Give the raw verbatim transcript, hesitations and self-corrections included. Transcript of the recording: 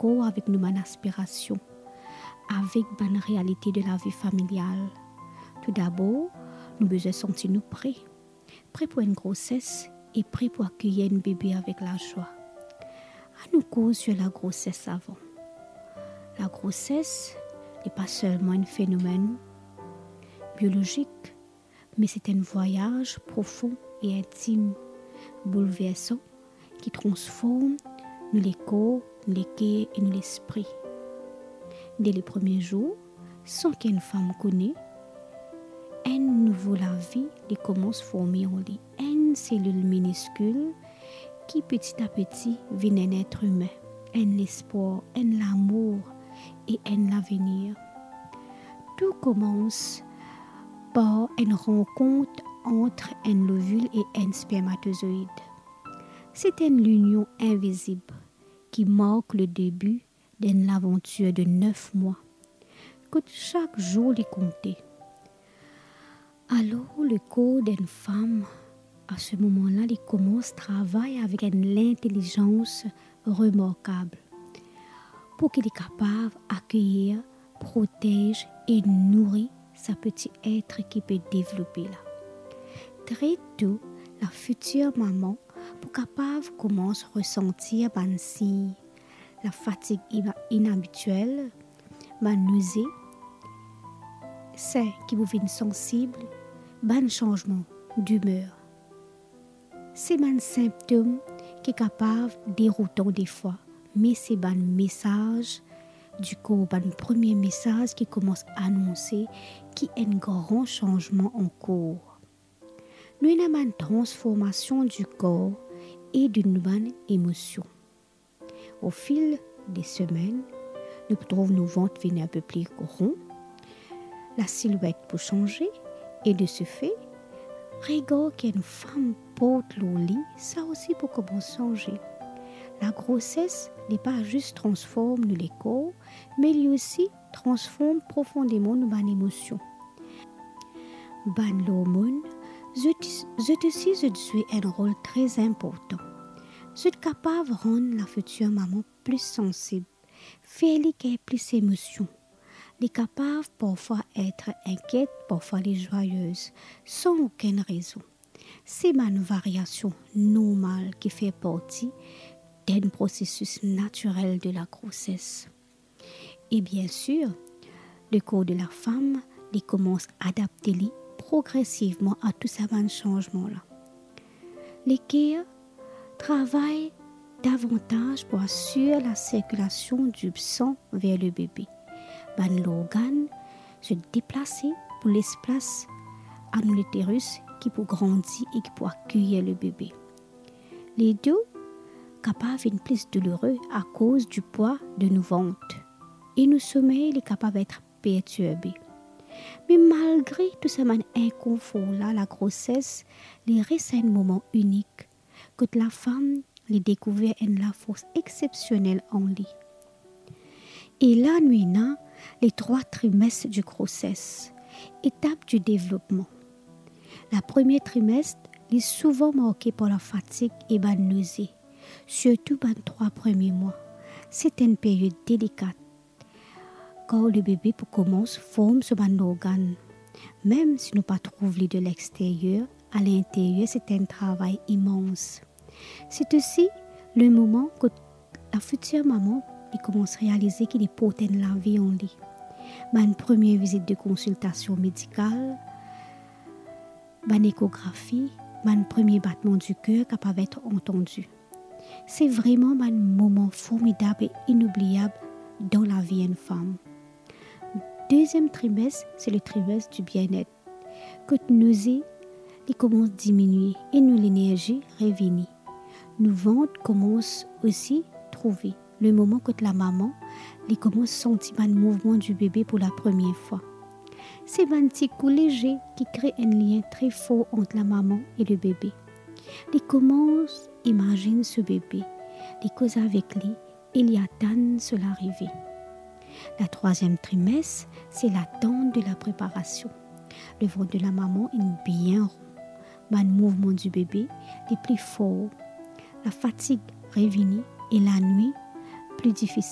rapor avek nou bann aspirasion, avek bann realite de lavi familial. Toudabor, nou bizin santi nou pre, pre pou enn groses e pre pou akeyir enn bebe avek lazwa. Anou koz sir lagroses avan. Lagroses, li pa selman enn fenomenn biolozik, me se enn vwayaz profon e intim, boulversan, ki transform nou lekor, nou leker e nou lespri. De le premie zour, san ki enn fam kone, enn nouvo lavi li koumans forme an li. Enn selil miniskil ki peti a peti vinn enn etre imin, enn lespwar, enn lamour e enn lavenir. Tou koumans par enn rankont ant enn lovil e enn spermatozoid. Se enn linion invizib ki mark le debi d'enn lavantir de nef mwa, kot sak zour li konte. Alor, lekor d'enn fam, a se moman la, li koumans travay avek enn lintelizans remarkab, pou ki li kapav akeyir, protez e nouri sa peti etre ki pe devlope la. Tre tou, lafitir mama pou kapav koumans resantir bann sign, lafatig ina-, inabitiel, bann noze, sin ki pou vinn sansib, bann sanzman dimer. Se bann sinptom ki kapav deroutan defwa, me se bann mesaz dikor, bann premie mesaz ki koumans anonse ki enn gran sanzman an kour. Nou ena bann transformasion dikor e de nou bann emosion. O fil de semenn, nou pou trouv nou vant vinn enn pe pli ron, lasilwet pou sanze, e de se fe, regar ki enn fam port lor li, sa osi pou koumans sanze. Lagroses, li pa zis transform nou lekor, me li osi transform profondeman nou bann emosion. Bann lormonn, zot, zot osi, zot zwe enn rol tre inportan. Zot kapav rann lafitir mama pli sansib, fer li gagn plis emosion. Li kapav parfwa et inkiet, parfwa li zwayez, san okenn rezon. Se bann variasion normal ki fer parti d'enn prosesis natirel de lagroses. E biensir, lekor de lafam, li koumans adapte li progresivman a tou sa bann sanzman la. Leker travay davantaz pou asir lasirkilasion di san ver le bebe. Bann lorgann zot deplase pou les plas a nou literis ki pou grandi e ki pou akeyir le bebe. Ledo kapav vinn plis doulere akoz dipwa de nou vant, e nou somey li kapav et pertirbe. Me malgre tou sa bann inkonfor la, lagroses, li res enn moman inik, kot lafam, li dekouver enn lafors exepsionel an li. E la nou ena le trwa trimes di groses, etap di devlopman. Lapremie trimes, li souvan marke par lafatig e bann noze, sirtou bann trwa premie mwa. Se enn period delikat, kar le bebe pou koumans form so bann lorgann. Mem si nou pa trouv li de lexteryer, a linteryer se enn travay imans. Se osi le moman kot lafitir mama, li koumans realize ki li port enn lavi an li. Bann premie vizit de konsiltasion medikal, bann ekografi, bann premie batman di ker kapav et antandi. Se vreman bann moman formidab e inoubliab dan lavi enn fam. Deziem trimes, se le trimes di bienet. Kot noze, li koumans diminie e nou lenerzi revini. Nou vant koumans osi trouve le moman kot lamama, li koumans santi bann mouvman di bebe pou lapremie fwa. Se bann ti kou leze ki kre enn lien tre for ant lamama e le bebe. Li koumans imazinn so bebe, li koz avek li e li atann so larive. Latrwaziem trimes, se latant de lapreparasion. Le vant de lamama inn bien ron. Bann mouvman di bebe li pli for. Lafatig revini e lanwit pli difisil.